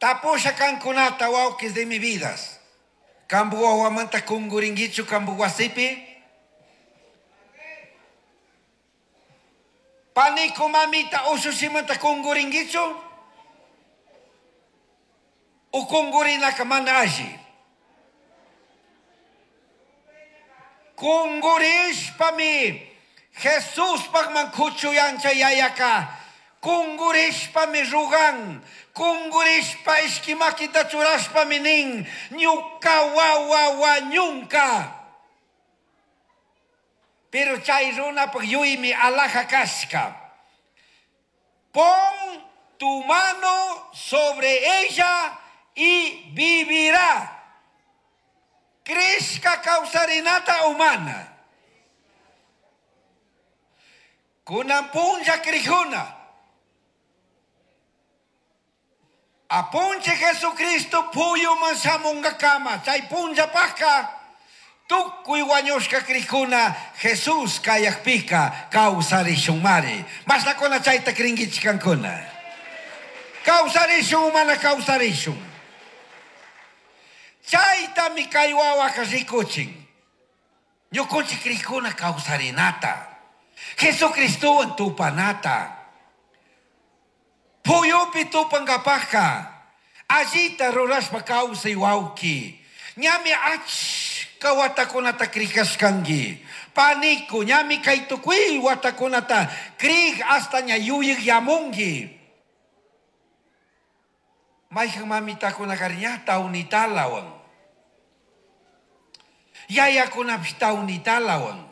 Tapusha kankunata wawkis de mi vidas. Kambu wawamanta kunguringuichu kambu wasipi? Paniku mamita ushushimanta kunguringuichu? O kungurinaka mana alli? Kungurishpami Jesuspajman kuchuyancha yayaka kungurishpami rugan, kungurishpa ishki makita churashpami nin, ñuka wawa wañunka. Pero chay runapaj yuymi alaja kashka. Pon tu mano sobre ella y vivirá. Crishka kawsarinata humana. Kunan punlla crijuna. Apunche Jesucristo puyuman shamunkakama. Chay punllapajka tukuy wañushka crijuna Jesús kayakpika kawsarishunmari. Mashnakuna chayta cringuichik kankuna. Kawsarishun mana kawsarishun. Chaytami kay wawaka rikuchin. Ñukunchik crijuna kawsarinata. Jesucristowan tupanata. Puyupi tupankapajka. Allita rurashpa kawsay wawki. Ñami achka watakunata krikashkanki. Paniku, ñami kay tukuy watakunata krik hasta ña yuyik yamunki. Mayhan mamitakunaka ña tawnitalawan. Yayakunapish tawnitalawan.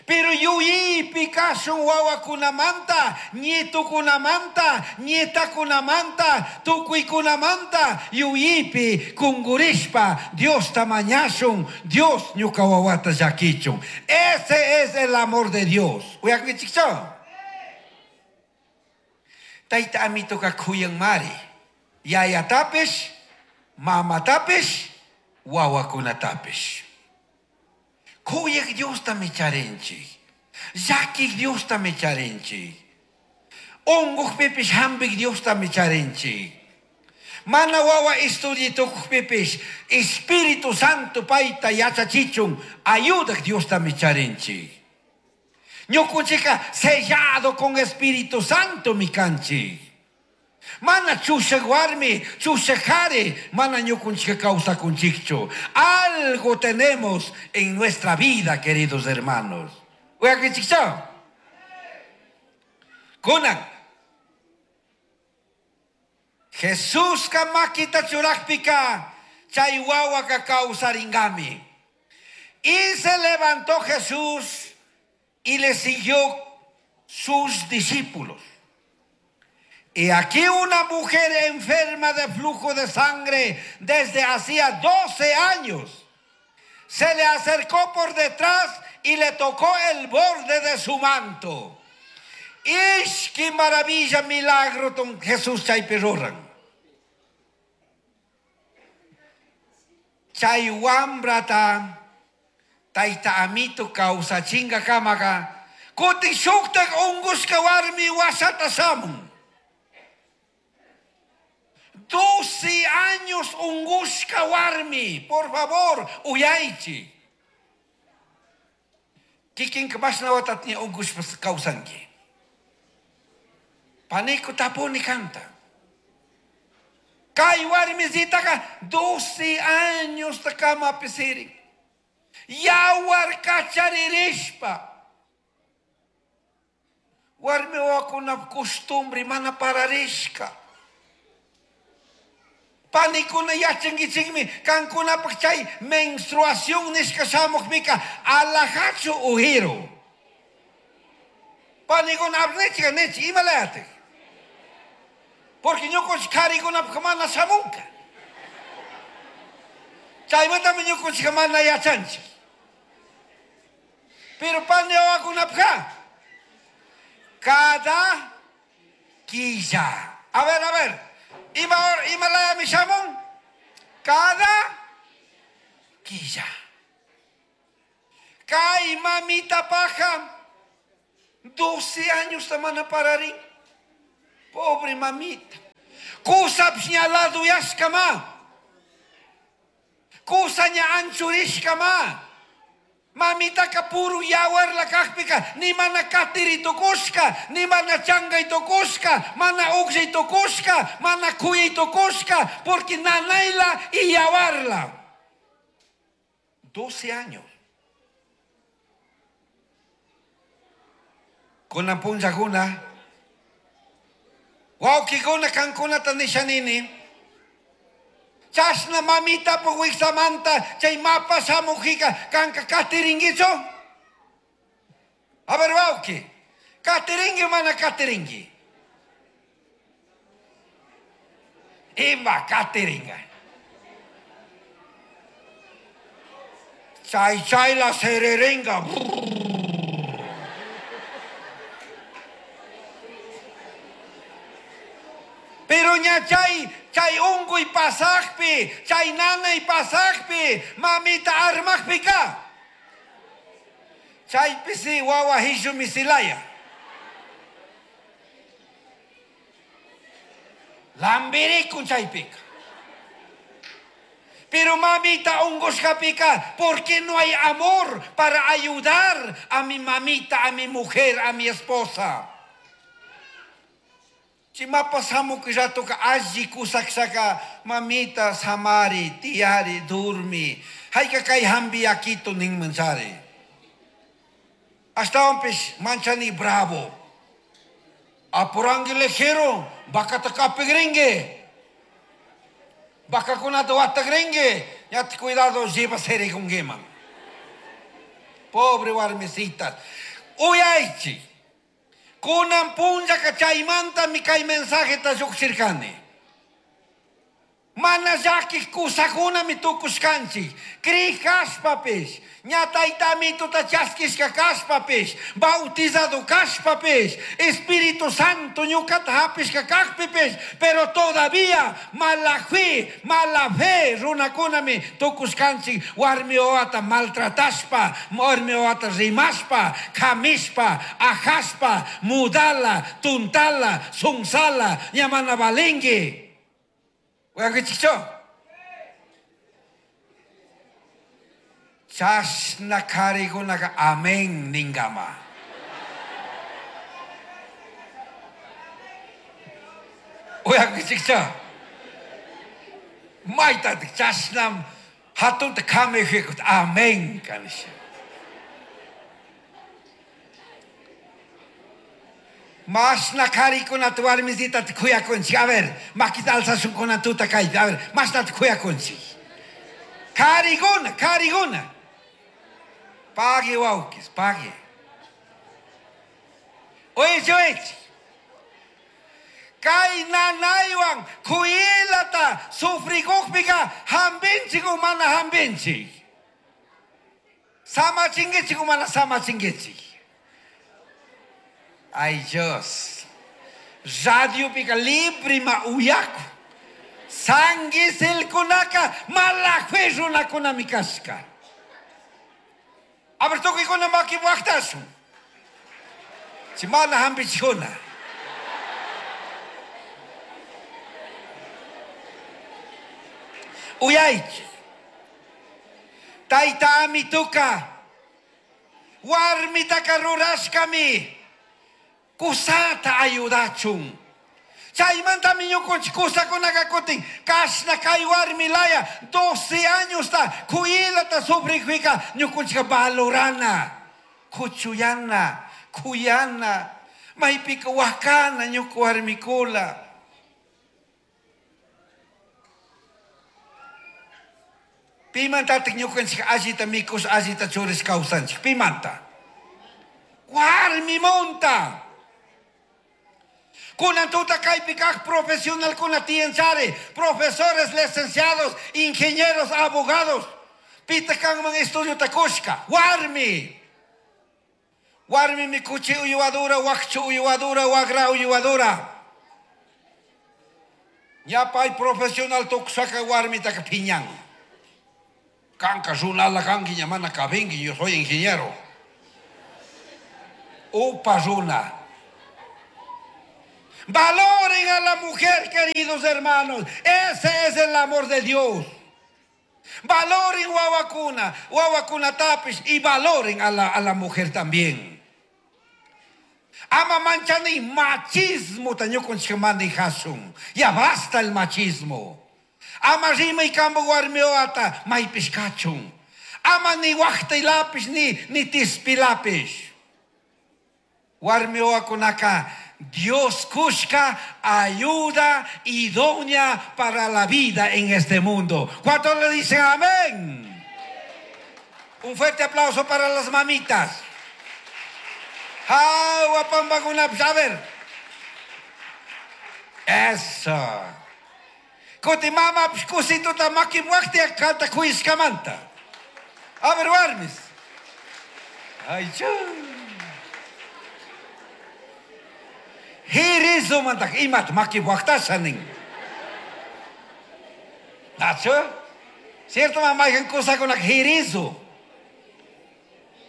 Pero yuyaypi kashun wawakunamanta, nietukunamanta, nietakunamanta, tukuykunamanta yuyaypi kungurishpa Diosta mañashun, Dios ñuka wawata llakichun. Ese es el amor de Dios. Uyakunkichikchu? Tayta amituka kuyanmari. Yayatapish, mamatapish, wawakunatapish. Kuyak Diostami charinchik. Llakik Diostami charinchik. Unqukpipish hampik Diostami charinchik. Mana wawa estudiy tukukpipish Espíritu Santo payta yachachichun ayudak Diostami charinchik. Ñukunchikka sellado con Espíritu Santo mi kanchik. Mana chushak warmi, chushak jari, mana ñukunchika kawsakunchikchu. Algo tenemos en nuestra vida, queridos hermanos. Uyakunchikchu? Kunan. Jesuska makita churakpika, chay wawaka kawsarinkami. Y se levantó Jesús y le siguió sus discípulos. Y aquí una mujer enferma de flujo de sangre desde hacía 12 años se le acercó por detrás y le tocó el borde de su manto. ¡Ish, qué maravilla, milagro, don Jesús chaypi ruran! Chay wambrata tayta amito kawsachinkakamaka kutin shuktak ungushka warmi washata shamun. 12 años ungushka warmi, por favor, uyaychi. Kikinka mashna watatña ungushpa kawsanki. Paniku tapuni kanta. Kay warmisitaka 12 años kamapi sirin. Yawar kacharirishpa. Warmi wawakuna costumbre mana pararishka. Panikuna yachankichikmi kankunapaq chay menstruación nishka shamukpika alajachu ujiru. Panikuna apnichika nichi imalayatik. Porque ñukunchik karikunapaq mana shamunka. Chaymantami ñukunchikka mana yachanchik. Pero pani wawakunapaqqa cada quilla. A ver, a ver. Ima imalayami shamun? Cada quilla. Kay mamita paja 12 años mana pararin. Pobre mamita. Cusapish ña laduyashcama. Cusa ña anchurishcama. Mamitaca puro yawarla cajpica ni mana catiri tucushca, ni mana changay tucushca, mana ugllay tucushca, mana cuyay tucushca, porque nanayla y yawarla. 12 años. Kunan punllakuna, wawkikuna kankunata nishanini, chashna mamitapak wiksamanta chay mapa shamukjika kanka katiringuichu? A ver wawki, katiringui mana katiringui? Ima katiringa. Chay chayla sererenga. Pero ña chay, chay unguy pasajpi, chay nanay pasajpi, mamita armajpika. Chaypi si wawa hishumi silaya. Lambirikun chaypika. Pero mamita ungushkapika, ¿por qué no hay amor para ayudar a mi mamita, a mi mujer, a mi esposa? Chimapa samuki ratoka alli kusakshaka mamita samari, tiyari, durmi. Hayka kay hambi yakito ninmanchari. Ashtawanpish manchani bravo. Apurangi lejero, bakata kapigringue. Bakakunata watagringue. Ya te cuidado, lleva seregungueman. Pobre warmisitas. Uyaychi. Kunan punllaka chaymanta mi kay mensajeta lluqshirkani. Mana llakiq kusakunami tukushkanchik. Crij kashpapish, ña tayta amituta chaskishka kashpapish, bautizado kashpapish, Espíritu Santo ñukata hapishka kajpipish, pero todavía mala fe, mala fe runakunami tukushkanchik warmi wawata maltratashpa, warmi wawata rimashpa, kamishpa, ajashpa, mudala, tuntala, sunsala, ña mana valinki. Uyankichikchu? Chashna karikunaka amén ningama. Uyankichikchu? Maytatik chashnam hatunta kamijikut amén kanisha. Mashna karikunata warmisitata kuyakunchik. A ver, makita alzashunkunata tuta kaypi. A ver, mashnata kuyakunchik. Kariguna, kariguna. Pague wawkis, pague. Oye, oye. Kay nanaywan kuyilata sufrikukpika hampinchik o mana hampinchik. Samachinkichik o mana samachinkichik. Ay Dios. Radio pika libre ma uyaku. Sanguisilkunaka mala fe runakunami kashka. A ver, tukuykuna maki waqtashun. Si mana hampichikuna. Uyaychik. Tayta amituka. Warmitaka rurashkami. Kusata ayudachun. Chaymantami ñukunchik kusakunaka kutin kashna kay warmilaya 12 años ta kuyilata sufrikpika ñukunchika valorana, kuchuyana, kuyana, maypika wakana ñuka warmikula. Pimantatik ñukanchik allita mikush, allita churish kawsanchik. Pimanta. Warmimunta. Kunan tuta kaypi kaq profesional kuna tiyanchari, profesores, licenciados, ingenieros, abogados. Pita kanman estudio takushka. Warmi. Warmi mi kuchi uyuadura, wakchu uyuadura, wagra uyuadura. Ñapay profesional tukusaka warmitaka piñan. Kanka runala kanki ña mana kabinki, yo soy ingeniero. Upa runa. Valoren a la mujer, queridos hermanos. Ese es el amor de Dios. Valoren wawakuna, wawakunatapish y valoren a la mujer también. Ama manchani machismo ñukanchik manejasun. Ya basta el machismo. Ama rimay kambo warmiwata maypish kachun. Ama ni waqtaylapish ni tispilapish. Warmiwakunaka Dios cushka ayuda idónea para la vida en este mundo. ¿Cuántos le dicen amén? Un fuerte aplauso para las mamitas. A ver. Eso. Kuti mama kusituta makimuaktia kanta kuiskamanta. A ver, warmis. Ay, chu. Hirizo mantak imat makimuaktasha nin. Nacho? Cierto, mamá, hay cosa con la jirizo.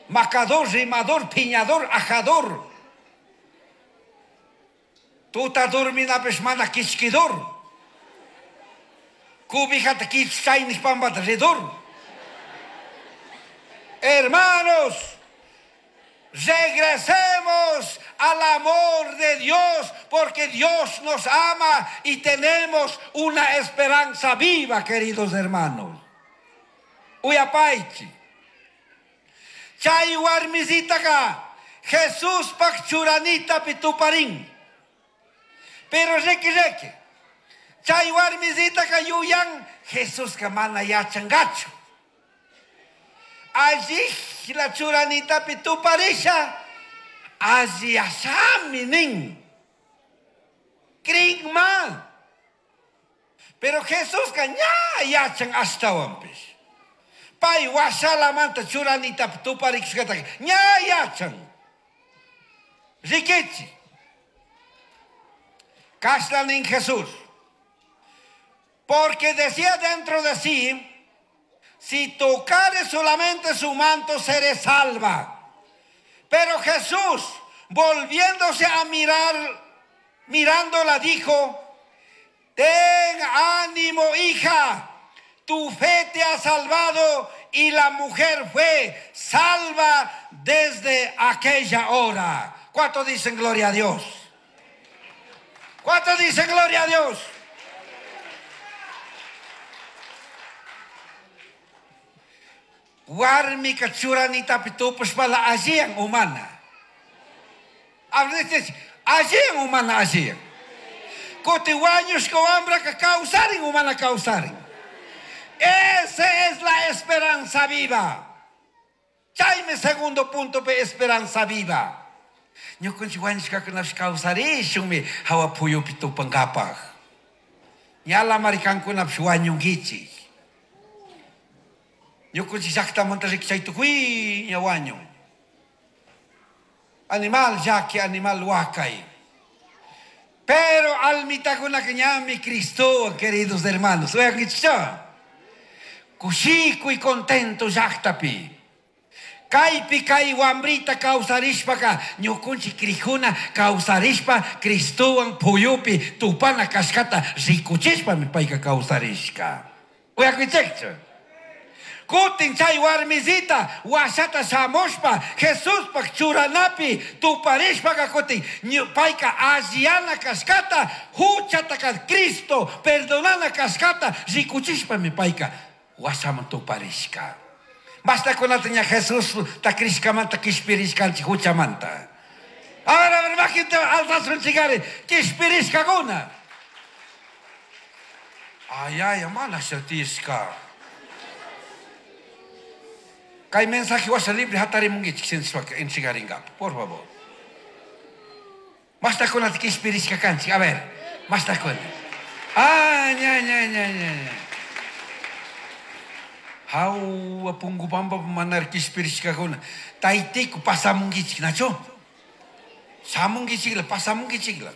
Macador, rimador, piñador, ajador. Tuta dormina peshmana kichkidor. Cubijata kichchaynish pambata ridor. Hermanos, regresemos al amor de Dios, porque Dios nos ama y tenemos una esperanza viva, queridos hermanos. Uyapaichi. Chay warmisitaka Jesús pak churanita pituparín. Pero reki reki. Chay warmisitaka yuyan Jesús ka mana yachangachu. Allí la churanita pituparisha. Allí asami nin. Kringma. Pero Jesús ka ña yachan ashtawanpish. Pay washalamanta churanita tuparikushkata ña yachan. Rikichi. Kashla nin Jesús. Porque decía dentro de sí, si tocare solamente su manto, seré salva. Pero Jesús, volviéndose a mirar, mirándola, dijo, ten ánimo, hija, tu fe te ha salvado. Y la mujer fue salva desde aquella hora. ¿Cuántos dicen gloria a Dios? ¿Cuántos dicen gloria a Dios? Warmika churanitapi tupashpala alliyan umana. Alliyan umana alliyan. Kuti wañushka wambraka kawsarin umana kawsarin. Esa es la esperanza viva. Chaymi segundo punto pe esperanza viva. Ñukanchik wañushkakunapish kawsarishunmi hawa puyupi tupankapaj. Ñala marikankunapish wañunkichik. Ñukanchik llaqtamanta riki chay tukuyña wañun. Animal llaki, animal wakay. Pero almitakunaka ñami Cristo, queridos hermanos. Uyankichikcha. Kushikuy contento llaqtapi. Kaypi kay wambrita kawsarishpaka ñukunchik krijuna kawsarishpa Cristowan puyupi tupana kashkata rikuchishpami payka kawsarishka. Uyakuichikchu. Kutin chay warmisita washata shamushpa Jesuspaj churanapi tuparishpaka kutin payka alliyana kashkata huchataka Cristo perdonana kashkata rikuchishpami payka washaman tuparishka. Basta kunata ña Jesús ta krishkamanta kishpirishkanchik huchamanta. A ver, maquita alzasunchikari kishpirishkakuna. Ay, ay, mana shatishka. Kay mensaje washa libre hatarimunkichik sinchishpaka entregaringapa, por favor. Basta kunata kishpirishka kanchik, a ver, basta kuna. Ah, ña, ña, ña, ña, ña. Hawa pungu pampa manar kishpirishkakuna. Taytiku pasamunkichik, nacho? Shamunkichikla, pasamunkichikla.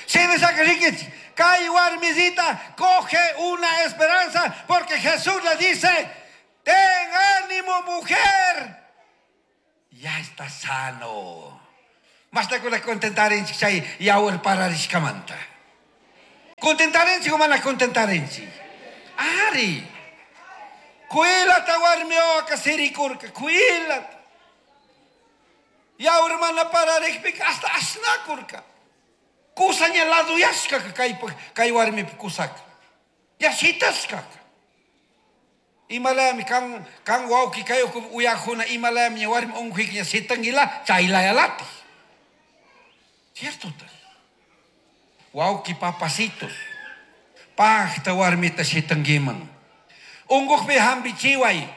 Shinashaka rikichik, kay warmisita coge una esperanza porque Jesús le dice, ten ánimo, mujer, ya está sano. Mastakuna contentarinchik chay yawar pararishkamanta. Contentarinchik o mana contentarinchik? Ari. Kuylata warmi wawaka sirikurka, kuylata. Yawar mana pararikpika hasta ashnakurka. Kusaña laduyashkaka kaypak kay warmipi kusaka. Ya shitashkaka. Imalayami kan kan wawki kay uyakuna imalayami ña warmi unquyka ña shitanguila chaylayalati. Cierto. Wawki papacitos. Pajta warmita shitanguiman. Unqukpi hampichiway.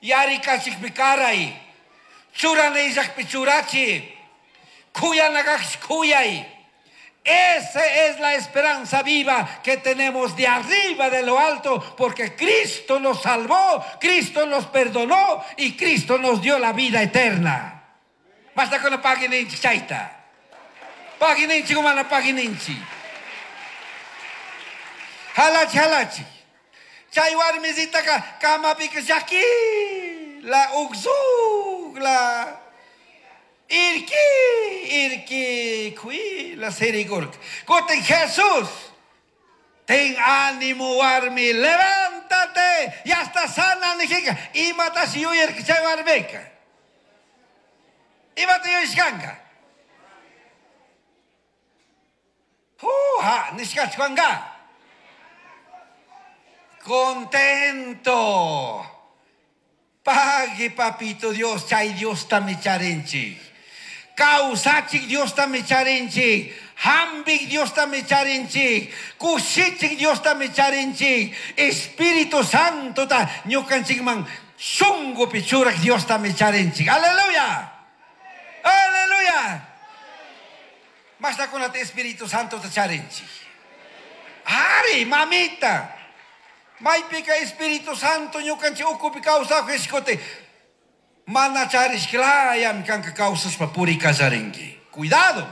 Yarikachikpi karay. Churana illakpi churachi. Kuyanakaqshi kuyay. Esa es la esperanza viva que tenemos de arriba de lo alto, porque Cristo nos salvó, Cristo nos perdonó y Cristo nos dio la vida eterna. Basta con la página chayta. Página mana página Halachi halachi. Chay warmisitaka kamapika llaki la uksuk la irki irki kui la sirikurka. Kutin Jesús. Ten ánimo warmi, levántate, ya está sana nijika. Imatashi yuyarka chay warmika. Imata yuyashkanka. Ha, nishkachkanka. Contento. Pague, papito Dios, chay Dios charinchik. Kawsachik Dios charinchik. Hambik Dios charinchik. Kushichik Dios charinchik. Espíritu Santo ta ñukanchikman shungupi churak Dios charinchik. Aleluya. Aleluya. Basta con el Espíritu Santo ta charinchik. Ari, mamita. Maypika Espíritu Santo ñukanchik ukupi kawsaq Mana charishklayami kanka kawsashpa purikallarinki. Cuidado.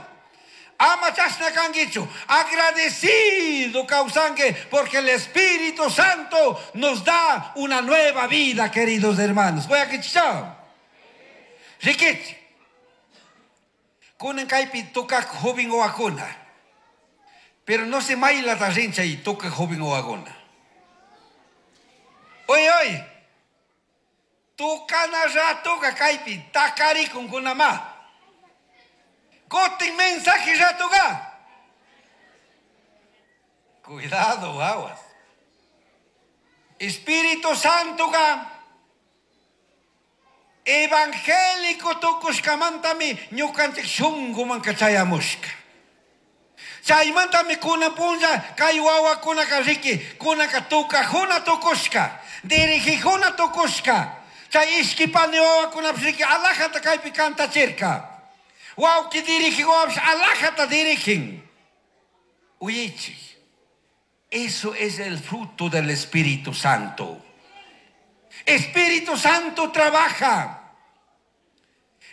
Ama chashna kankichu. Agradecido kawsanki porque el Espíritu Santo nos da una nueva vida, queridos hermanos. Voy a kichao. Rikichi. Kunan kaypi tukak joven wawakuna. Pero no se maylata rin chay tukak joven wawakuna. Oye, oye. Tukana ratuka kaypi takarikun-kunama. Kutin mensaje ratuka. Cuidado, aguas. Espíritu Santo ka evangélico tukushkamantami ñukanchik shunkuman chayamushka. Chaymantami kunan punlla kay wawakunaka riki kunaka tukajuna tukushka, dirigijuna tukushka. Chay ishkipani wawakunapish riki alajata kaypi kantachirka. Wawki dirigij wawapish alajata dirigin. Uyaychik. Eso es el fruto del Espíritu Santo. Espíritu Santo trabaja.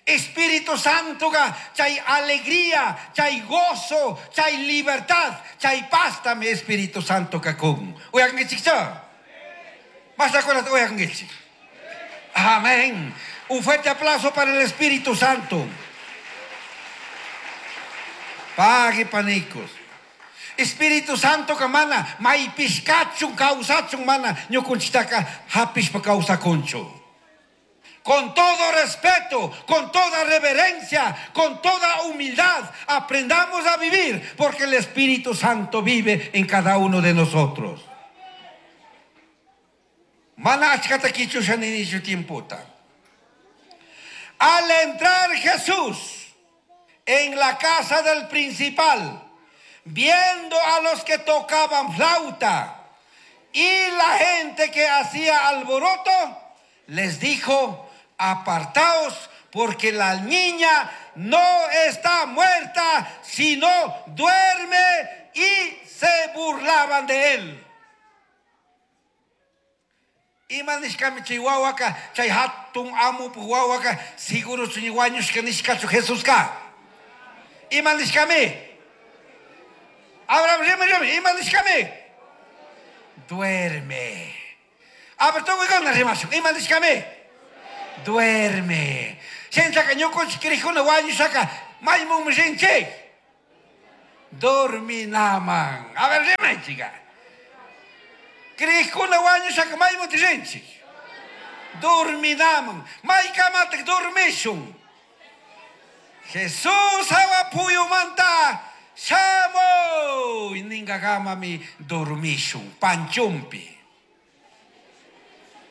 Espíritu Santo chay alegría, chay gozo, chay libertad, chay paz mi Espíritu Santo kakun. Uyankichik Basta con la uyankichik. Amén. Un fuerte aplauso para el Espíritu Santo. Pague panicos. Espíritu Santo ka mana maypishkachun kawsachun mana ñukunchiktaka hapishpa kawsakunchu. Con todo respeto, con toda reverencia, con toda humildad, aprendamos a vivir porque el Espíritu Santo vive en cada uno de nosotros. Mana achkata kichusha ninichu tiempota. Al entrar Jesús en la casa del principal, viendo a los que tocaban flauta y la gente que hacía alboroto, les dijo: apartaos, porque la niña no está muerta, sino duerme. Y se burlaban de él. Ima nishkami chay wawaka, chay hatun amupu wawaka, seguro chuñi wañushka nishkachu Jesuska. Ima nishkami? Abraham, rima, rima, ima nishkami? Duerme. A ver, tukuykuna rimashun, ima nishkami? Duerme. Shinchaka ñukunchik kirikuna wañushaka Maymanmi rinchik? Dorminaman. A ver, rimaychika. Creejkuna wañushaka maymanti rinchik? Dorminaman. Maykamataq dormishun? Jesús hawa puyumanta shamuy ninkakamami dormishun panchumpi.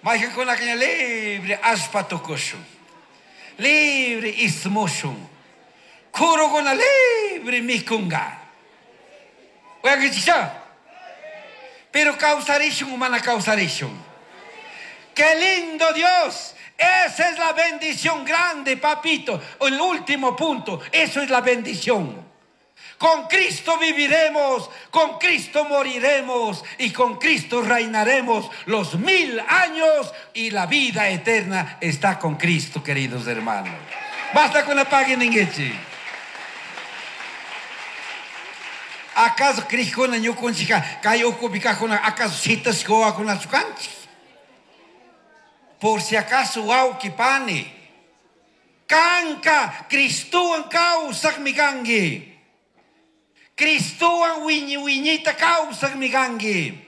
Mayqankunaka ña libre allpa tukushun. Libre ismushun. Kurukuna libre mikunga. Uyankichikcha? Pero kawsarishun o mana kawsarishun. ¡Qué lindo Dios! Esa es la bendición grande, papito. El último punto, eso es la bendición. Con Cristo viviremos, con Cristo moriremos y con Cristo reinaremos los 1000 años y la vida eterna está con Cristo, queridos hermanos. Basta con la página en ¿Acaso Cristo ñukunchika kay ukupi kajkuna acaso shitashka wawakunachu kanchik? Por si acaso wawqi pani, kanka Cristowan kawsaqmi kanki. Cristowan wiñi wiñita kawsaqmi kanki.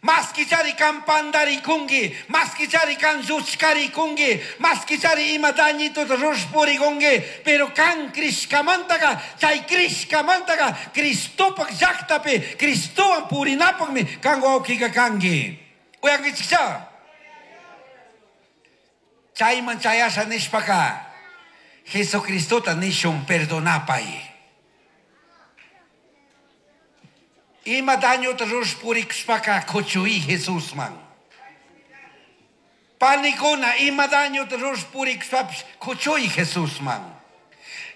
Maskichari kan pandarikunki, maskichari kan lluchkarikunki, maskichari ima dañituta rushpurikunki, pero kan crishkamantaka, chay crishkamantaka, Cristopaq llaqtapi, Cristowan purinapaqmi kan wawqika kanki. Uyankichikcha? Chayman chayasha nishpaka, Jesucristota nishun perdonapay. Ima dañota rushpurikushpaka kuchuy Jesusman. Panikuna ima dañota rushpurikushpapish kuchuy Jesusman.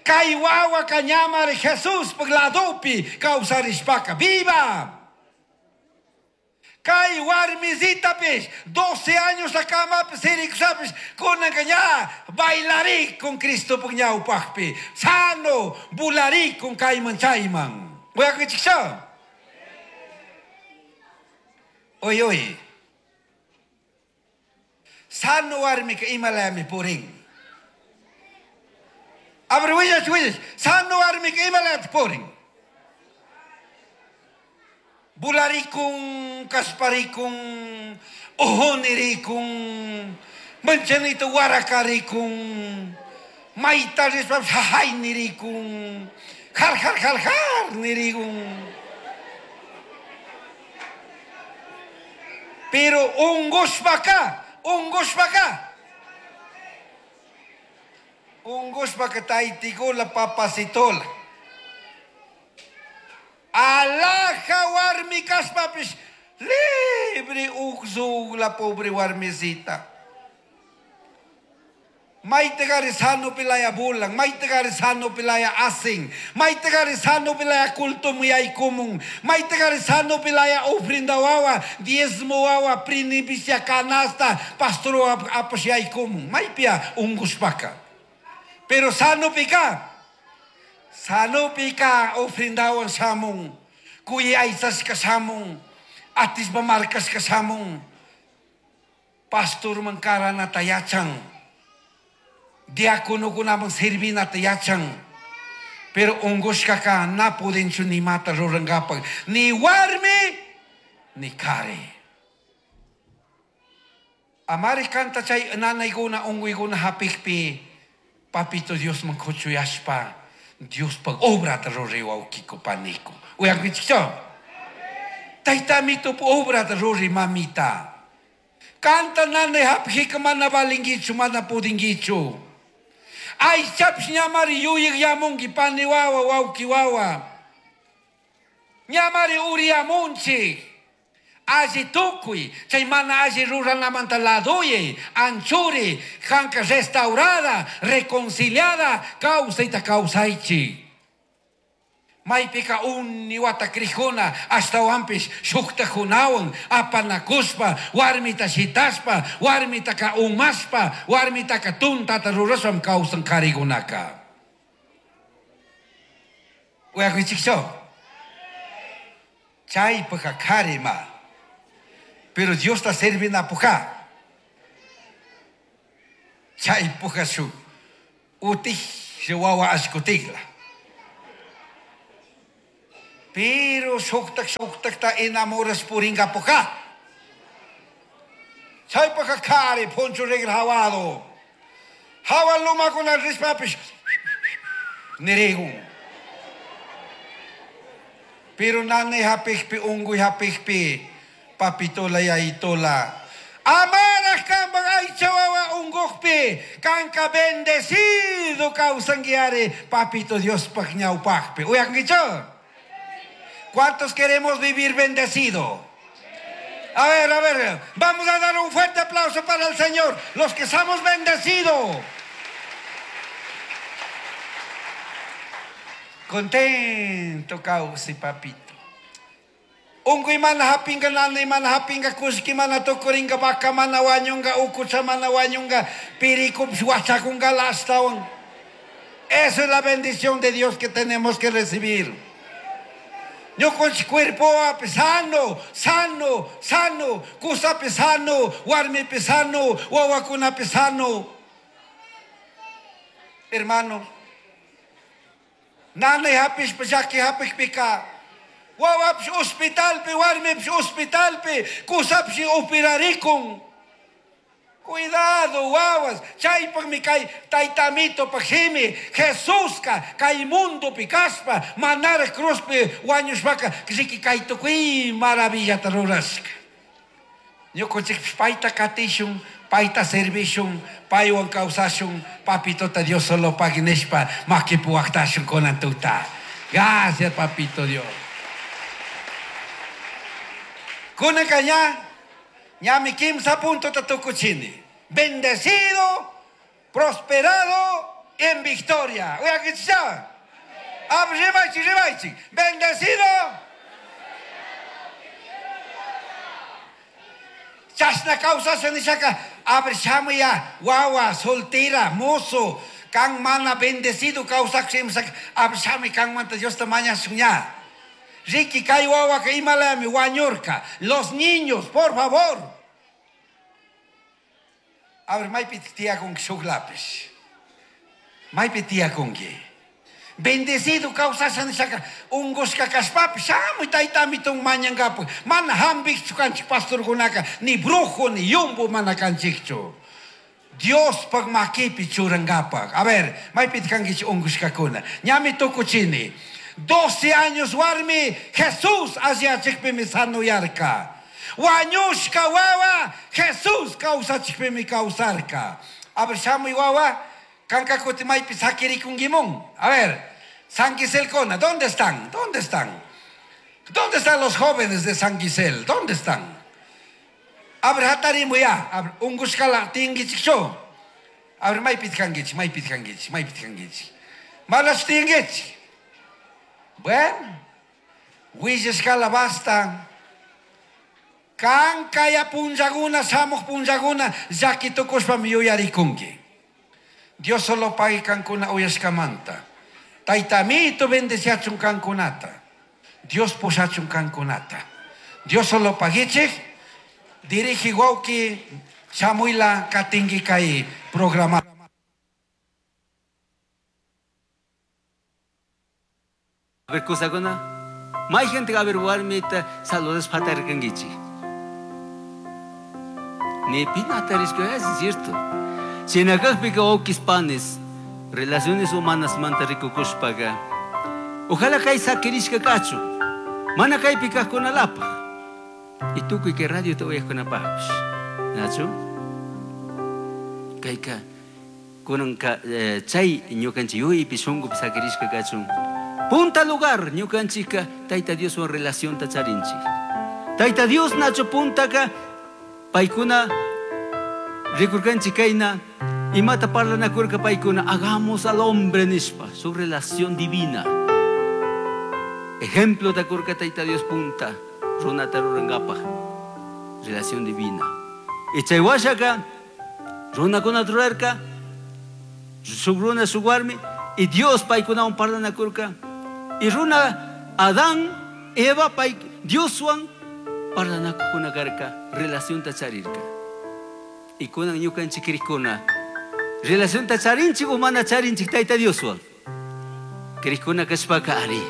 Kay wawaka ñamari Jesuspaj ladopi kawsarishpaka viva. Kay warmisitapish 12 años kamapi sirikushapish kunanka ña bailarikun Cristopaj ñawpajpi sano bularikun kayman chayman. Uyakichikcha? Oy, oy. Sano warmika imalami purin. A ver, willach, willach. Sano warmika imalami purin. Bularikun, kasparikun, ojonirikun, manchanito warakarikun, mayta rishpa jajaynirikun, jar, jar, jar, jar nirikun. Pero ungushpaka, ungushpaka. Ungushpaka taytikula papacitola. Alaja warmi kashpapish libre uqzugla pobre warmisita. Maytagari sano pilaya bulan, maytagari sano pilaya asin, maytagari sano pilaya culto muyaykumun, maytagari sano pilaya ofrenda wawa, diezmo wawa, prinipicia canasta, pastor apashyaykumun, maypia ungushpaka. Pero sano pika, sano pika ofrendawan shamun, kuyaytsashka shamun, atispa markashka shamun, pastorman karanata yachan. Diáconokunaman servinata yachan. Pero ungushkaka na pudinchu ni mata rurankapak, ni warmi ni kari. Amari kanta chay nanaykuna unguykuna hapikpi papito Diosman kuchuyashpa Diospaq obrata ruray wawqiku paniku. Uyankichikchu? Taytamitup obrata ruray mamita. Kanta nanay hapikika mana valinkichu, mana pudinkichu. Aychapish ñamari yuyaq yamunki pani wawa, wawqi wawa. Ñamari uriyamunchik. Alli tukuy, chay mana alli ruranamanta ladoyay, anchuri, kanka restaurada, reconciliada, kawsayta kawsaychik. Maypika uni wata krijuna, ashtawanpish shuktakunawan, apanakushpa, warmita shitashpa, warmitaka umashpa, warmitaka tuntata rurashpam kawsan karikunaka. Uyakuchikchu? Chaypaka karima. Pero Diosta servinapuja. Chaypuja shuk. Utij Wawa ashkutikla. Pero shuktak shuktakta enamoras puringapuka. Chaypaka kari poncho regra hawado. Hawa lumakuna rispapish nirigun. Pero nanay hapikpi unguy hapikpi papitola yaitola. Amaraj kanpak aycha wawa ungukpi kanka bendecido kawsanguiare papito Diospaj ñawpajpi. Uyankichu? ¿Cuántos queremos vivir bendecido? A ver, vamos a dar un fuerte aplauso para el Señor, los que somos bendecidos. Contento kawsi papito. Unguy mana hapinga, nanay mana hapinga, kushki mana tukuringa, vaca mana wañunga, ukucha mana wañunga, pirikupis wachakunga lastawan. Esa es la bendición de Dios que tenemos que recibir. Ñukanchik cuerpo sano, sano, sano, kusapi sano, warmipi sano, wawakunapi sano. Hermano, nanay hapishpa llaki hapikpika, wawapish hospitalpi, warmipish hospitalpi, kusapish operarikun. Cuidado, wawas, chaypaqmi kay taytamito paqshimi, Jesuska kay mundopi kaspa, manaraq cruzpi wañushpaka, riki kay tukuy maravillata rurashka. Ñukanchikpish payta katishun, payta servishun, paywan kawsashun, papitota Dios solo pagui nishpa, makipi waqtashun kunan tuta. Gracias, papito Dios. Kunanka ña, ñami kimsa puntota tukuchini. Bendecido, prosperado en victoria. Uyakichisa. Ribaychik, ribaychik. Bendecido. Chashna kawsasha nishaka, abrishamuya, wawa, soltera, mozo, kan mana bendecido kawsakshimsak, abrishami kanmanta Diosta mañashun ña. Riki kay wawaka imalami wañurka. Los niños, por favor. A ver, maypi tiyakunki shuk lapish. Maypi tiyakunki. Bendecido kawsasha nishaka, ungushka kashpapish, shamuy taytamitun mañankapak. Mana hampikchu kanchik pastorkunaka, ni brujo, ni yumbo mana kanchikchu. Diospaj makipi churankapak. A ver, maypi kankichik ungushkakuna. Ñami tukuchini. 12 años warmi, Jesús alliyachikpimi sanuyarka. Wañushka wawa, Jesús kawsachikpimi kawsarka. A ver, shamuy wawa, kanka kuti maypi sakirikunkimun. A ver, San Quiselcona, ¿dónde están? ¿Dónde están? ¿Dónde están los jóvenes de San Quisel? ¿Dónde están? A ver, hatarimu ya. A ver, ungushkala tingichikchu. A ver, maypi kankichik, maypi kankichik, maypi kankichik. Malas tingichik. Bueno, willashkala basta. Kan kaya punllakuna, shamuj punllakuna, llaki tukushpami yuyarikunki. Dios solo pague kankuna uyashkamanta. Taytamito bendeciachun kankunata. Dios pushachun kankunata. Dios solo paguichik. Dirige wawki shamuila katingi kay programa. A ver, kusakuna. May gente a ver warmita saludos patarkangichi. Ni pinatarisco, es cierto. Chinakajpika okis panes, relaciones humanas manta rikukushpaga. Ojalá kay sakirishka kachu. Mana kay pikajkunalapaj. Y tukuy que radio te uyajkunapajpish. Nachu? Kayka kunanka chay ñukanchik yuypi shunkupi sakirishka kachun. Punta lugar ñukanchikka Tayta Dioswan relacionta charinchik. Tayta Dios nachu puntaka paykuna rikurkanchik kayna imata parlanakurka paykuna hagamos al hombre nishpa su relación divina. Ejemplo takurka Tayta Dios punta runata rurankapaj relación divina. Y chay washaka runakuna rurarka shuk runa shuk warmi y Dios paykunawan parlanakurka. Y runa Adán, Eva, pay Dioswan parlanakukuna karka relacionta charirka. Y kunan ñukanchik krikuna Relación ta charinchik o mana charinchik Tayta Dioswan. Krikuna kashpaka ari.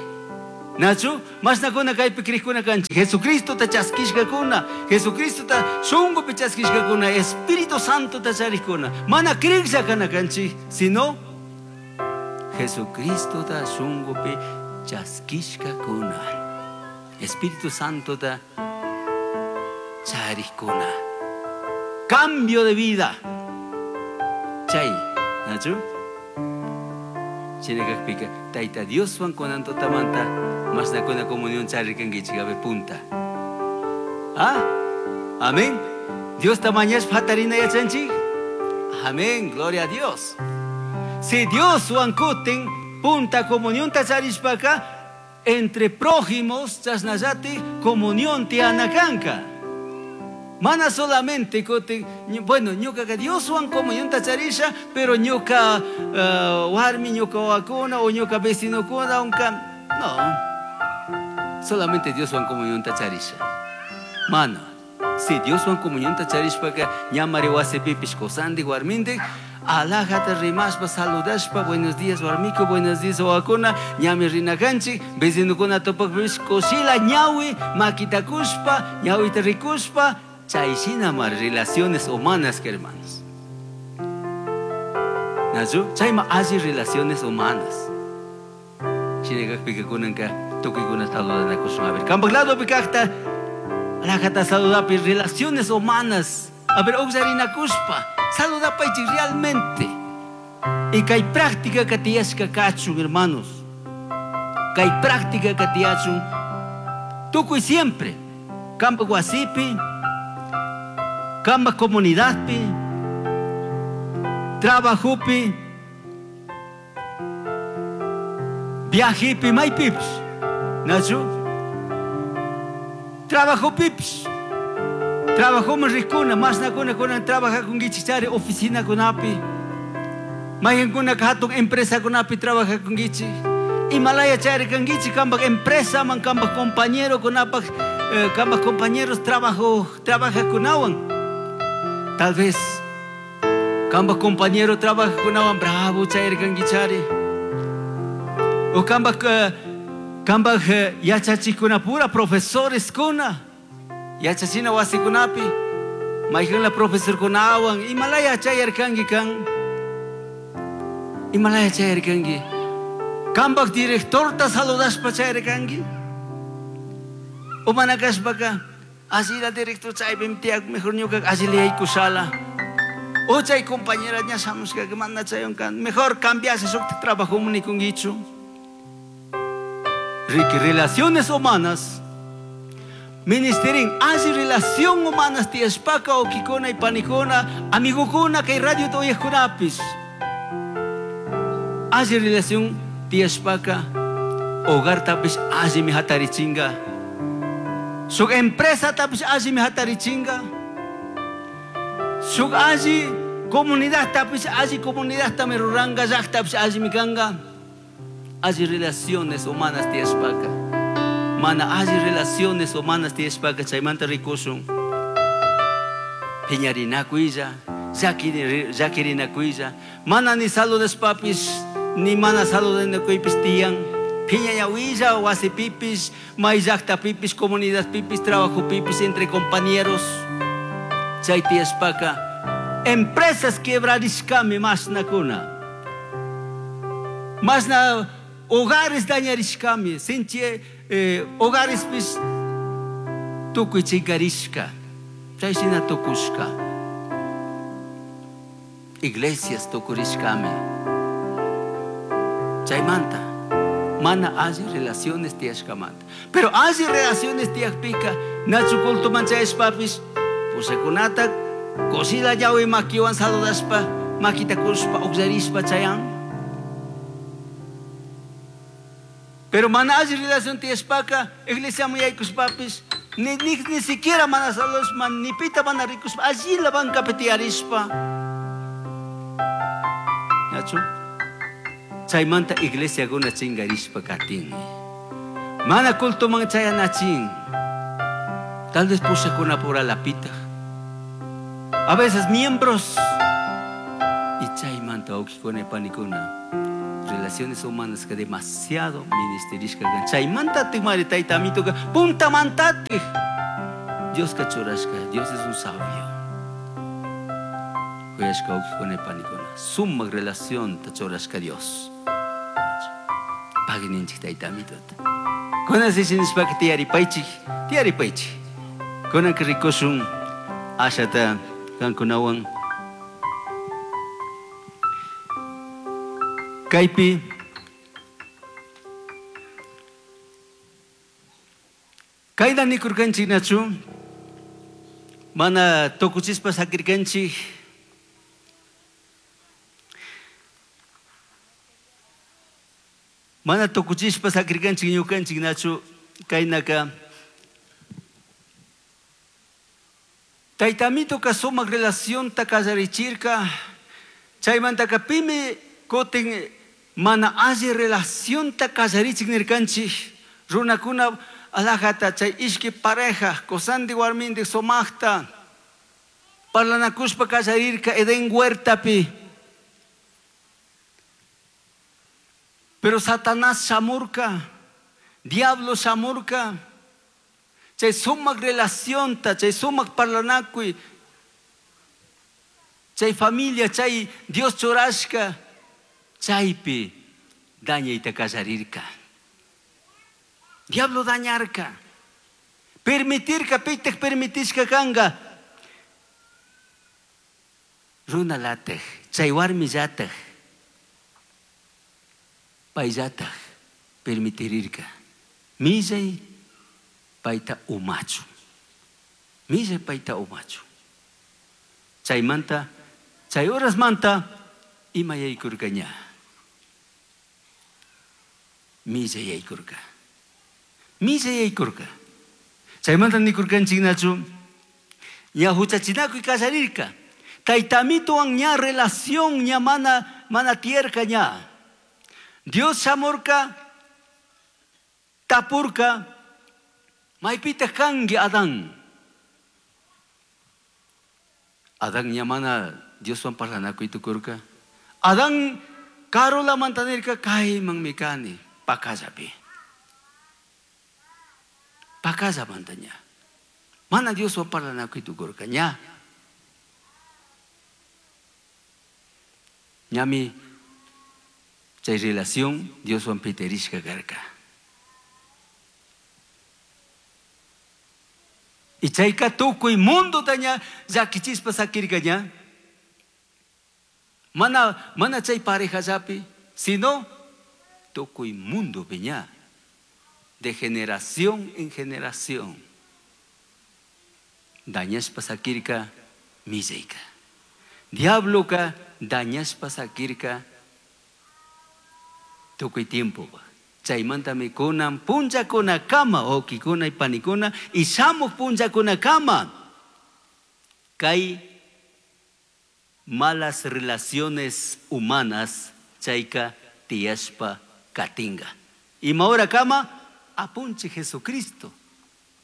Nachu, mashnakuna kaypi krikuna kanchik. Jesucristo ta chaskishkakuna, Jesucristo ta shunkupi chaskishkakuna, Espíritu Santo ta charikuna. Mana kriklla kana kanchik, sino Jesucristo ta shunkupi chaskishkakuna. Espíritu Santo ta charikuna. Cambio de vida. Chay, nachu? Shinakakpika, Tayta Dioswan kunan tutamanta, mashnakuna comunión charirkankichik, a ver, punta. ¿Ah? Amén. Diosta mañashpa hatarina yachanchik. Amén, gloria a Dios. Si Dioswan kutin, punta comunión ta charishpaka, entre prójimos, chashnallati, comunión tiyanakanka. Mana solamente kutin, bueno, ñukaka Dioswan comunión ta charisha, pero ñuka warmi, ñuka wawakuna o ñuka vecinokuna, unka, no. Solamente Dioswan comunión ta charisha. Mana, si Dioswan comunión ta charishpaka, ñamari wasipipish kusandik warmindik, alajata rimashpa, saludashpa, buenos días warmiko, buenos días wawakuna, ñami rinakanchik, vecinokuna tupakpish, kushila ñawi, makitakushpa, ñawita rikushpa, chay shina mar relaciones humanas, que hermanos. Nachu, chayma alli relaciones humanas. Shinakakpika kunanka tukuykuna saludanakushun. A ver, kampak ladopi kakta, alajata saludapi, relaciones humanas. A ver, uqllarinakushpa, saludapaychik realmente. Y kay práctica ka tiyashka kachun, hermanos. Kay práctica ka tiyachun, tukuy siempre. Kampak wasipi, kampak comunidadpi, trabajopi, viajepi, maypipish. Nachu? Trabajopipish. Trabajoman rikuna, mashnakuna kunan trabajakunkichik chari oficinakunapi. Mayqinkunaka hatun empresakunapi trabajakunkichik. Imalaya chari kankichik kampak empresaman, kampak compañerokunapak kampak compañeros trabajo, trabajakunawan. Tal vez kampak compañero trabajakunawan bravo chayarkankichari. O kampak yachachikuna pura profesores kuna. Yachachina wasikunapi. Mayqinla profesorkunawan imalaya chayarkanki kan. Imalaya chayarkanki. Kampak directorta saludashpa chayarkanki. O manakashpaka, así la director chaypim tiyak, mejor ñuka así le yaykushala. O chay compañera ña shamushka que manda chayon kan, mejor cambiase shuk trabajo nikunkichu. Ricky, relaciones humanas. Ministerin, así relación humanas tiyashpaka, okikuna y panikuna, amigukuna, kay radio toyajkunapis. Así relación tiyashpaka, hogar tapis así mi hatarichinga. Shuk empresa tapis así mi hatarichinga. Shuk así comunidad tapis así comunidad tameruranga, yak tapis así mi kanga. Así relaciones humanas tiyashpaka. Mana así relaciones humanas tiyashpaka chaymanta rikushun. Piñarinakuilla, llakirinakuilla. Mana ni saludashpapis, ni mana saludanakuypis tiyan. Piñañawilla, wasipipis, may llaqtapipis, comunidad pipis, trabajo pipis, entre compañeros. Chay tiyashpaka, empresas quebrarishkami mashnakuna. Masna hogares dañarishkami, sinchi hogares pis tukuy chinkarishka, chay shina tukushka. Iglesias tukurishkami. Chaymanta, mana alli relaciones tiyashkamanta. Pero alli relaciones tiyakpika, nachu culto manchayashpapis, pushakunata, kushila yawi makiwan saludashpa, makita kushpa, uqllarishpa chayan. Pero mana alli relación tiyashpaka, iglesia muyaykushpapis, ni siquiera mana saludashpa, ni pita mana rikushpa, allí la banca tiyarishpa. Nachu? Chaymanta iglesiakuna chingarishpa katin. Mana cultoman chayanachin. Tal vez pushakuna pura lapita. A veces miembros. Y Chaymanta wawqikuna panikuna relaciones humanas que demasiado ministerishka kan. Chaymantatik mari tayta amituka puntamantatik Dioska churashka, Dios es un sabio. Kuyashka wawqikuna panikuna sumak relación ta churashka Dios. Pagui ninchik tayta amituta. Kunan nishpaka tiyaripaychik, tiyaripaychik. Kunanka rikushun ashata kankunawan. Kaypi kayna nikurkanchik nachu mana tukuchispa sakirkanchik. Mana tukuchispa sakirkanchik ñukanchik nachu kaynaka Tayta amituka sumak relacionta kallarichirka chaymantaka pimi kutin mana alli relacionta kallarichik nirkanchik runakuna alajata chay ishki pareja kusandik warmindik sumakta parlanakushpa kallarirka Edén huertapi. Pero Satanás shamurka, diablo shamurka, chay sumak relacionta, chay sumak parlanakuy, chay familia, chay Dios churashka, chaypi dañayta kallarirka. Diablo dañarka. Permitirka, pitak permitishka kanga. Runa latej, chay warmi llataj, payllataj permitirirka. Millay payta umachu. Millay payta umachu. Chaymanta, chay horasmanta ima yaykurka ña. Millay yaykurka. Millay yaykurka. Chaymanta nikurkanchik nachu ña huchachinakuy kallarirka. Tayta amituwan ña relación ña mana tierka ña. Dios shamurka, tapurka, maypita kanki Adán. Adán ña mana Dioswan parlanakuy tukurka. Adán karulamanta nirka kaymanmi kani pakallapi. Pakallamanta ña. Mana Dioswan parlanakuy tukurka ña. Ñami chay relación Dioswan piterishka karka. Y chayka tukuy mundo taña llakichispa sakirka ña. Mana chay pareja llapi, sino tukuy mundo piña. De generación en generación. Dañaspa sakirka millayka. Diabloka dañaspa sakirka tukuy tiempo. Chaymantami kunan punllakuna kama, wawqikuna y panikuna, y shamuq punllakuna kama. Kay malas relaciones humanas chayka tiyashpa katinga. Ima hora kama, apunchi Jesucristo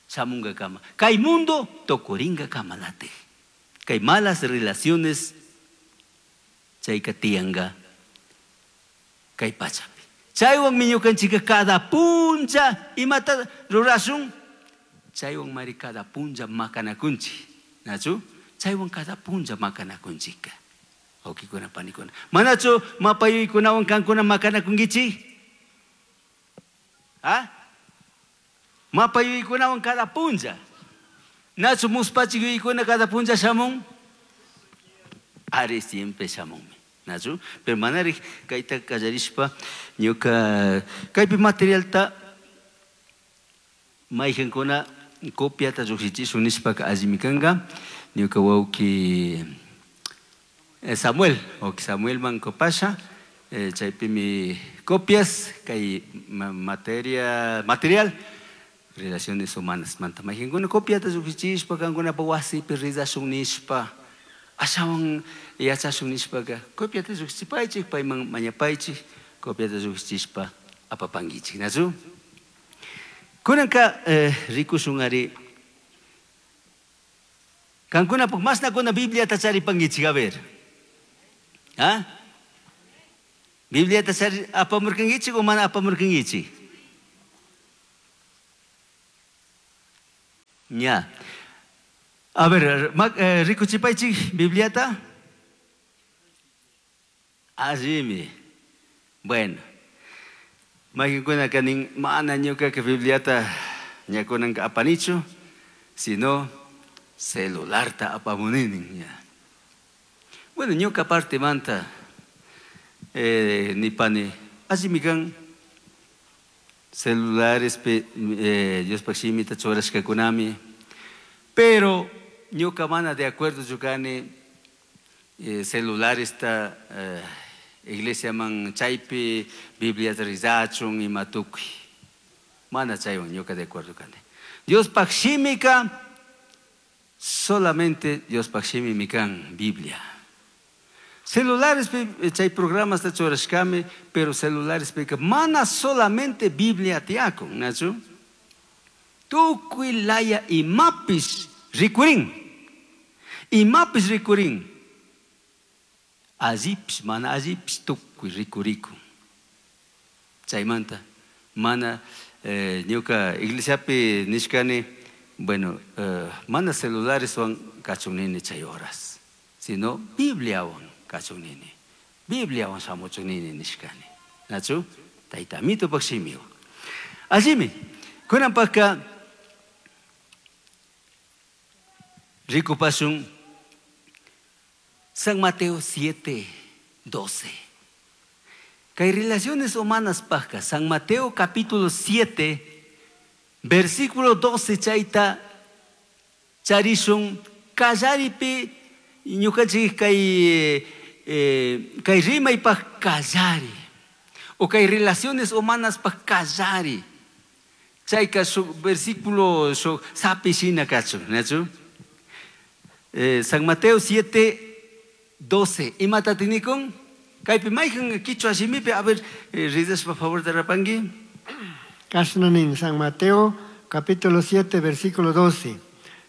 shamunga kama. Kay mundo tokuringa kama late. Kay malas relaciones chayka tiyanga kay pachapi. Chaywan mi ñukanchika cada puncha imata rurashun. Chaywan mari cada puncha makanakunchi. Nachu? Chaywan cada puncha makanakunchika. Wawqikuna panikuna. Manachu mapayuykunawan kankuna makanakunkichik? ¿Ah? Mapayuykunawan cada puncha. Nachu muspachikuykuna cada puncha shamun? Ari siempre shamunmi. Nachu? Pero manari kayta kallarishpa ñuka kaypi materialta mayqankuna copiata lluqshichishun nishpaka allimi kanka. Ñuka wawqi Samuel, wawqi Samuelman kopasha, chaypimi copias kay material relaciones humanas manta mayqankuna copiata lluqshichishpa kankunapa wasipi rizashun nishpa ashawan yachashun nishpaka copiata lluqshichipaychik payman mañapaychik copiata lluqshichishpa apapankichik nachu. Kunanka rikushun ari kankunapaq masnakuna Bibliata charipankichik, a ver. ¿Ah? Bibliata apamurkankichik o mana apamurkankichik? Ya. A ver, rikuchipaychik Bibliata. Allimi. Bueno. Mayqinkuna nin mana ñuqaqa Bibliata ñakunanqa apanichu, sino celularta apamunini. Ya. Bueno, ñuqa partemanta nipani allimi kan celularespi Diospaq shimita churashkakunami, pero ñuqa mana de acuerdo kani celularesta iglesiaman chaypi Bibliata rizachun ima tukuy. Mana chaywan ñuqa de acuerdo kani. Diospaq shimika solamente Diospaq shimimi kan Biblia. Celulares chay programasta churashkami, pero celulares mana solamente Biblia tiyakun, nachu? Tukuy laya imapis rikurin. Imapis rikurin. Allipis, mana allipis tukuy rikurikun. Chaymanta mana ñuka iglesiapi nishkani, bueno, mana celulareswan kachun nini chay horas, sino Bibliawan kachun nini. Bibliawan shamuchun nini nishkani. Nachu? Tayta Amitopak shimiwan. Allimi, kunanpaqqa rikupashun San Mateo 7:12. Kay relaciones humanas paqqa, San Mateo capítulo 7, versículo 12 chayta charishun kallaripi ñukanchik kay kay rimaypaq kallari o kay relaciones humanas paq kallari. Chayka shuk versículo shuk sapi shina kachun, nachu? San Mateo 7:12. Imata tinikun? Kaypi mayqan quichwa shimipi, a ver, rizaspa favor de rapanki. Kashna nin San Mateo capítulo 7 versículo 12.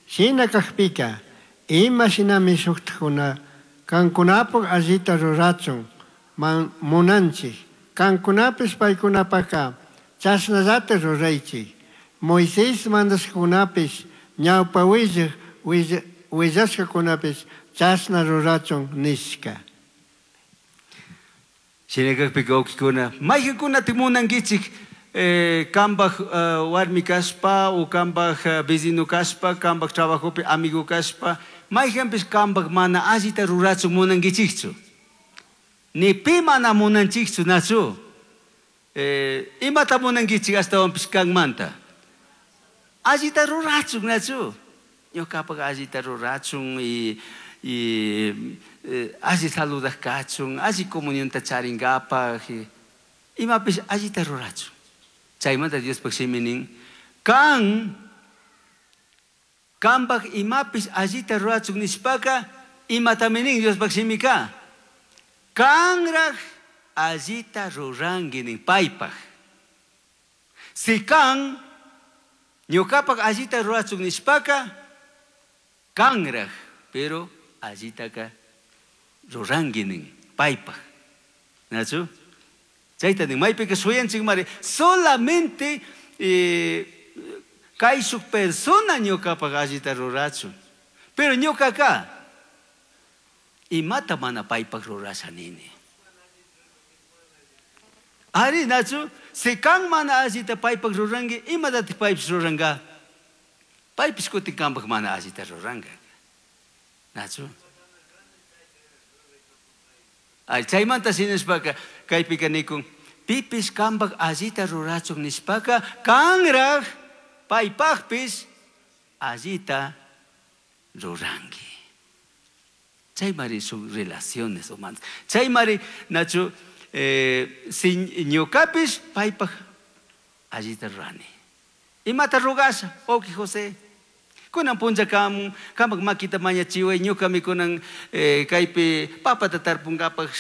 Shina kaqpika ima shinami shuktakuna kankunapaq allita rurachun man munanchik kankunapis paykunapaqqa chashnallata ruraychik. Moisés mandashkakunapis ñawpa willaq willashkakunapis chashna rurachun nishka. Shinakaqpika wawqikuna, mayqankunataq munankichik kambaq warmi kashpa o kambaq vecino kashpa, kambaq trabajopi amigo kashpa, mayqanpis kambaq mana allita rurachun munankichikchu? Ni pi mana munanchikchu, nachu? Imata munankichik ashtawanpis kanmanta? Allita rurachun, nachu? Ñuqapaq allita rurachun y alli saludaq kachun, alli comunionta charinkapaq, imapis allita rurachun. Chaymanta Diospaq shimi nin, kan kambaq imapis allita rurachun nishpaka, imatami nin Diospaq shimika? Kanraq allita ruranki nin paypaq. Si kan ñuqapaq allita rurachun nishpaka, kanraq, pero allitaka ruranki nin paypaq. Nachu? Chayta nin maypika shuyanchik mari solamente kay shuk persona ñuqapaq allita rurachun. Pero ñuqaka imata mana paypaq rurasha nini. Ari nachu, si kan mana allita paypaq ruranki, imatataq paypis ruranka? Paypis kutin kanpaq mana allita ruranka. Nachu? Ay, chaymanta sinishpaka kaypika nikun, pipis kanpaq allita rurachun nishpaka, kanraq paypaqpis allita ruranki. Chaymari sus relaciones humanas. Chaymari nachu si ñuqapis paypaq allita rurani. Imata rugasha, oki José. Kunan punlla kamak makita mañachiway, ñuqami kunan kaypi papata tarpunkapaq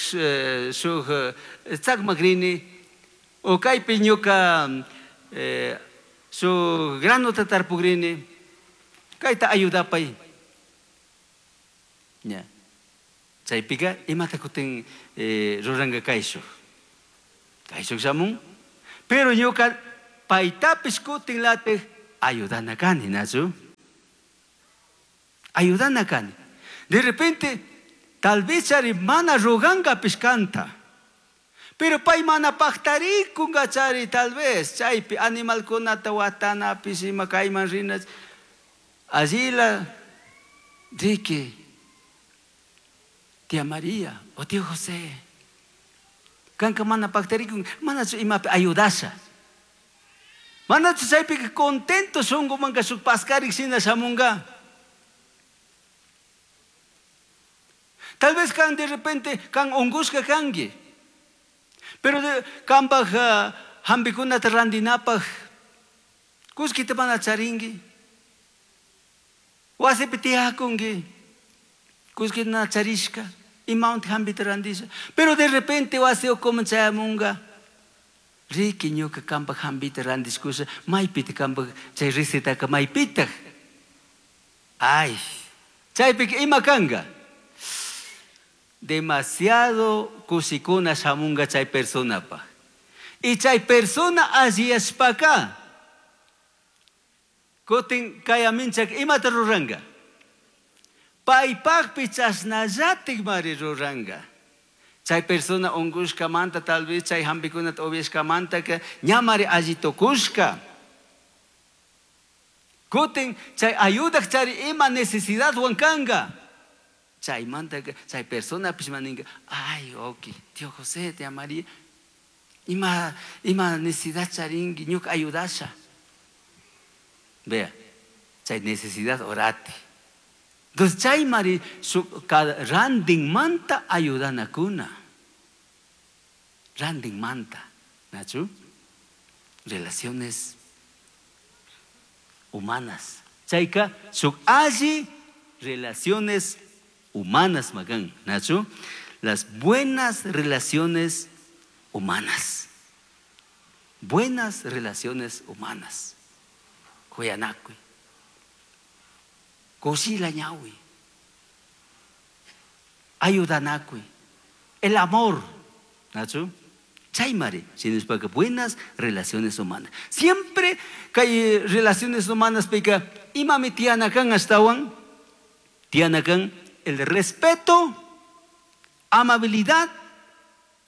shuk tzakmakrini, o kaypi ñuqa shuk granota tarpukrini, kayta ayudapay. Ya. Chaypiqa imata kutin ruranqa kayshuq. Kayshuq shamun. Pero ñuka paytapis kutin latej ayudana kani, nachu? Ayudana kani. De repente, tal vez chari mana ruganqapis kanta. Pero pay mana paqtarikunqa chari tal vez chaypi animalkunata watanapis ima kayman rina allila riki tía María o tío José. Kanka mana paqtarikun manachu imapi ayudasha. Manachu chaypi contento shunkumanka shuk paskarik shina shamunqa. Tal vez kan de repente kan ungushka kanki. Pero kanpaj hampikunata rantinapaj kullkita mana charinki. Wasipi tiyakunki. Kullkita mana charishka. Imawantik hampita rantisha. Pero de repente wasi ukuman chayamunqa. Riki ñuka kanpaj hampita rantishkusha maypita kanpaj chay recetaka maypitaj. Ay, chaypika ima kanka. Demasiado kushikuna shamunga chay personapaj. Y chay persona alliyashpaka kutin kayaminchak imata ruranga. Paypajpi chashnallatik mari ruranga. Chay persona unkushkamanta tal vez chay hampikunata upiashkamantaka ñamari alli tukushka. Kutin chay ayudak chari ima necesidadwan kanka. Chaymanta chay persona maninka, ay, ok, tío José, tía María, ima necesidad charinki, ñuka ayudasha. Vea, chay necesidad orati. Entonces chay mari randin manta ayudanakuna. Randin manta, ¿nachu? Relaciones humanas. Chayka shuk alli relaciones humanas, magan, Nacho, las buenas relaciones humanas. Buenas relaciones humanas. Kuyanakui. Kushila ñawi. Ayudanakui. El amor, Nacho. Chaymari, sino buenas relaciones humanas. Siempre que hay relaciones humanas, pica, imami tianakan astawan, tianakan el respeto, amabilidad,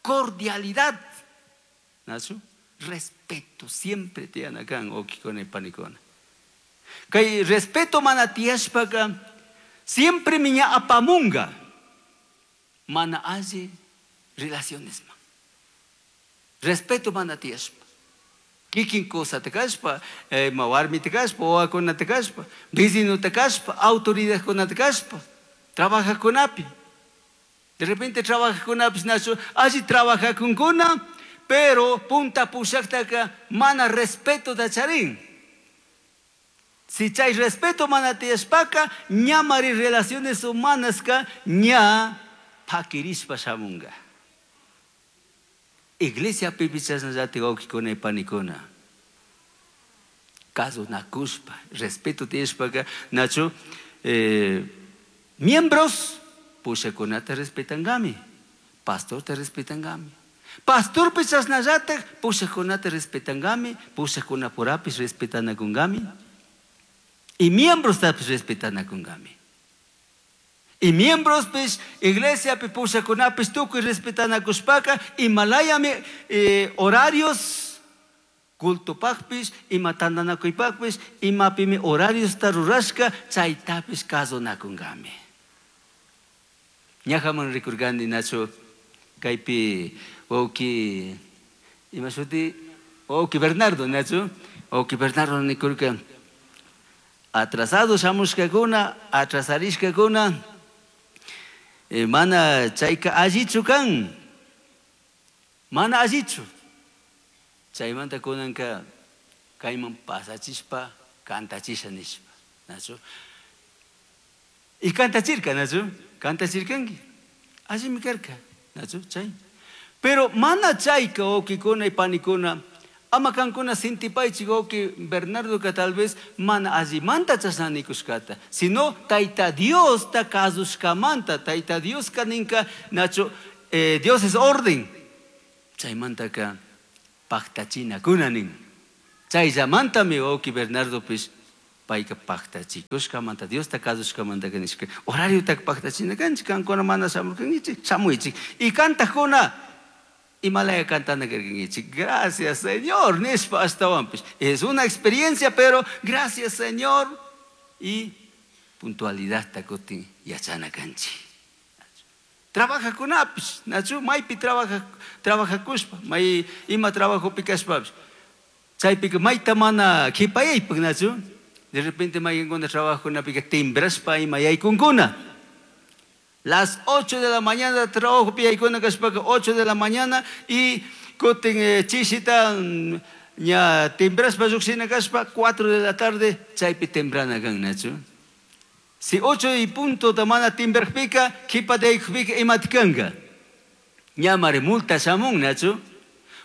cordialidad. ¿Nacho? Respeto, siempre tianakan, okikona y panikona. Kay respeto manatiashpaka, siempre miña apamunga, mana alli relaciones ma. Respeto manatiashpa. Kikin cosa te kashpa, ma warmi te kashpa, wawakuna te kashpa, vecino te kashpa, autoridad kuna te kashpa. Trabaja con api. De repente trabaja con api, nacho, allí trabaja con kuna, pero punta pushaktaka mana respeto da charín. Si chay respeto mana tiashpaka, ñamari relaciones humanas ka ña pakirishpa shamunga. Iglesia pipichasnallati wawkikuna y panikuna. Caso nakushpa, respeto tiashpaka, nacho, miembros, pushakunata respetangami, pastor te respetangami. Pastor pichasnallatak, pushakunata respetangami, pushakunapurapis respetanakungami. Y miembros tapis respetanakungami. Y miembros pis iglesia pi pushakunapis tukuy respetanakushpaka, imalayami horarios cultopaqpis, ima tantanakuypaqpis, imapimi horarios tarurashka, chaytapis kasunakungami. Ñajaman rikurgani nacho kaypi wawki ima shuti wawki Bernardo nacho wawki Bernardo nikurka atrasado shamushkakuna atrasarishkakuna mana chayka allichu kan mana allichu chaymanta kunanka kayman pasachishpa kantachisha nishpa nacho y kantachirka nacho kantachirkanki allimi karka nacho chay pero mana chayka wawkikuna y panikuna Ama kankuna sintipaychik wawqi Bernardoka tal vez mana allimanta chashna nikushkata, sino Tayta Diosta kasushkamanta, Tayta Dioska ninka nachu Dios es orden. Chaymantaka paktachinakuna nin. Chayllamantami wawqi Bernardopish payka paktachikushkamanta, Diosta kasushkamantaka nishka, horariotaka paktachina kanchik, kankuna mana shamurkankichik, shamuychik. Y kantakuna imalaya cantana karkankichik, gracias Señor, nishpa ashtawanpish. Es una experiencia, pero gracias Señor. Y puntualidadta kutin yachana kanchik. Trabajakunapish, nachu maypi trabajakushpa, may ima trabajopi kashpapish. Chaypika mayta mana qhipayaypak, nachu. De repente mayqinkuna trabajokunapika timbrashpa ima yaykunkuna. Las 8 de la mañana trabajo yaykuna kashpaka 8 de la mañana y kutin chishita ña timbrashpa lluqshina kashpa 4 de la tarde chaypi temprana kan, nachu. Si 8 y punto ta mana timbrajpika, qhipata yaykujpika imata kanka. Ña mari multa shamun, nachu.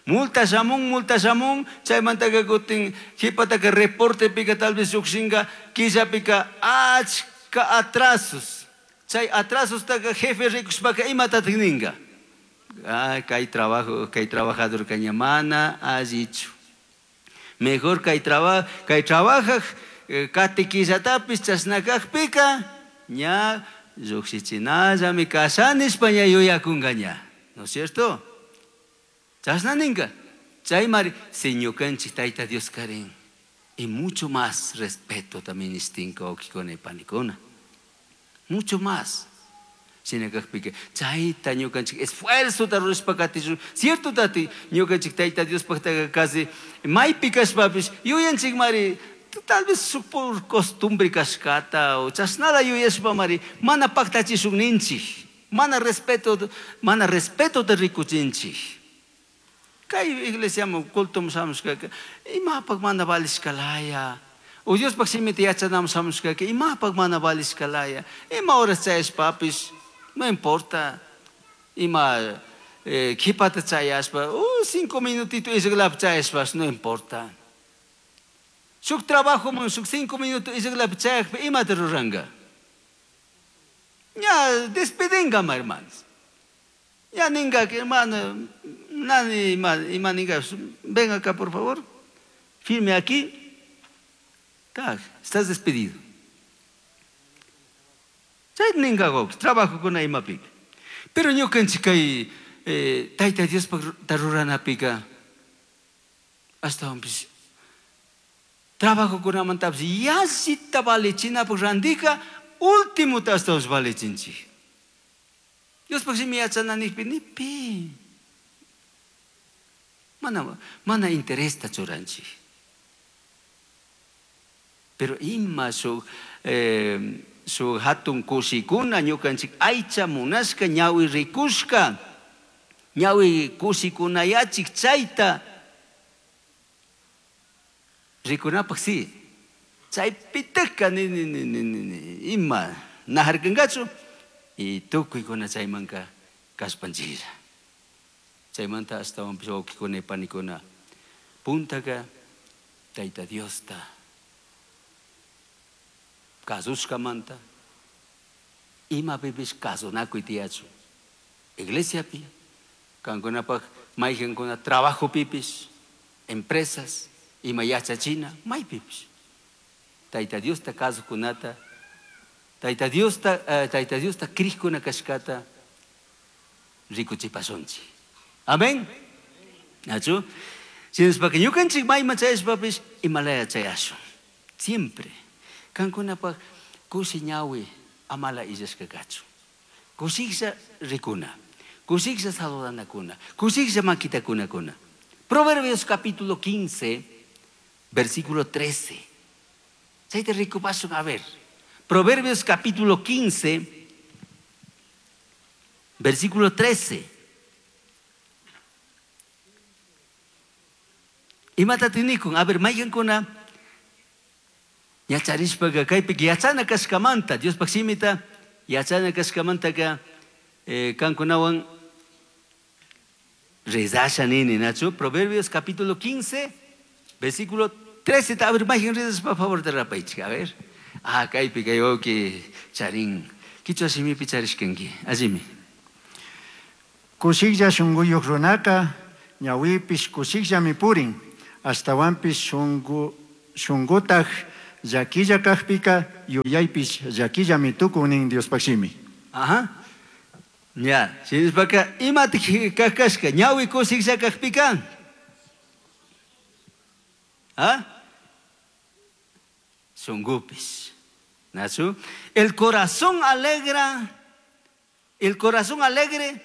Multa shamun, multa shamun, chaymantaka kutin qhipataka reportepika tal vez lluqshinka killapika achka atrasos. Chay atrasostaka jefe rikushpaka imatatik ninka. Ay, kay trabajo, kay trabajador kaña mana allichu. Mejor kay kay trabajaj, kati killatapis chashnakajpika ña lluqshichinallami kashanishpa ña yuyakunka ña. ¿No es cierto? Chashna ninka. Chaymari si ñukanchik Tayta Dios karin. Y mucho más respeto también istinka wawqikuna y panikuna. Mucho más. Shinakajpika chayta ñukanchik esfuerzota rurashpa katishun. Cierto tati ñukanchik Tayta Diospajtaqa casi maypi kashpapish yuyanchik mari tal vez por costumbre kashkata o chashnala yuyashpa mari mana paktachishun ninchik. Mana respeto, mana respetota rikuchinchik. Kay iglesiaman cultoman shamushkaka imapak mana valishkalaya. O Diospaj shimita yachanaman shamushkaka imapak mana valishkalaya. Ima horas chayashpapish no importa. Ima qhipata chayashpa, 5 minutitos isqlapi chayashpash no importa. Shuk trabajoman shuk 5 minutos isqlapi chayakpi imata ruranka. Ña despedinga, hermanos. Ya ninga, hermano, nani ima, ima ninga, ven acá por favor, firme aquí. Tak, estás despedido. Chay ninga gok, trabajo con imapika. Pero ñukanchik kay Tayta Diospaj ruranapika ashtawanpish trabajokunamantapish yallita valichinapaj randika últimota ashtawanpish valichinchik. Diospaj shimi yachana nijpi nipi. Mana, mana interesta churanchik. Pero ima shuk shuk hatun kushikuna ñukanchik aycha munashka ñawi rikushka ñawi kushikunayachik chayta rikunapaj si chaypitaka ni ni ni ni ni ni ima najarkankachu y tukuykuna chaymanka kashpanchiklla. Chaymanta ashtawanpish wawqikuna y panikuna puntaka Tayta Diosta kasushkamanta imapipish kasunakuy tiyachun. Iglesiapi, kankunapaj mayqinkuna trabajopipish, empresas, ima yachachina, maypipish. Tayta Diosta kasukunata, Tayta Diosta, Tayta Diosta krikuna kashkata rikuchipashunchik. Amén. Nachu? Shinashpaka ñukanchik mayman chayashpapish imalaya chayashun. Siempre. Kankunapaj kushi ñawi amala illashka kachun. Kushiklla rikuna, kushiklla saludanakuna, kushiklla makitakunakuna. Proverbios capítulo 15, versículo 13. Chayta rikupashun, a ver. Proverbios capítulo 15, versículo 13. Imata tinikun, a ver, mayqinkuna yacharishpaka kaypika yachana kashkamanta, Diospaj shimita yachana kashkamantaka kankunawan rezasha nini, nachu. Proverbios capítulo 15, Versículo 13, a ver, imagen por favor, de rapaichik, a ver. Ah, kaypi kay wawki charin. Kichwa shimipi charishkanki. Allimi. Kushiklla shunquyuq runaka ñawipish kushikllami purin, ashtawanpish shungu shungutaj llaquilla kajpika yuyaypish llaquillami tukun nin Diospaj shimi. Ajá. Ya, shinashpaka imatik kashka ñawi kushiklla kajpika. ¿Ah? Shungupis. Nachu? El corazón alegra, el corazón alegre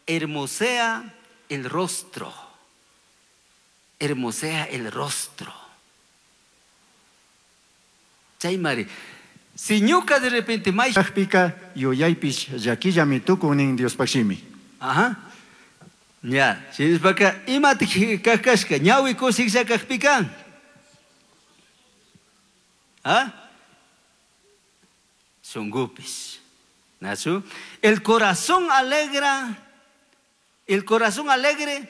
hermosea el rostro. Hermosea el rostro. Chaymari, si ñuka de repente may Kajpika yuyaypish llaquillami tukun nin Diospaj shimi. Ajá. Ya, shinashpaka imatik kashka ñawi kushiklla kajpika. ¿Ah? Shungupis. Nachu? El corazón alegra, el corazón alegre.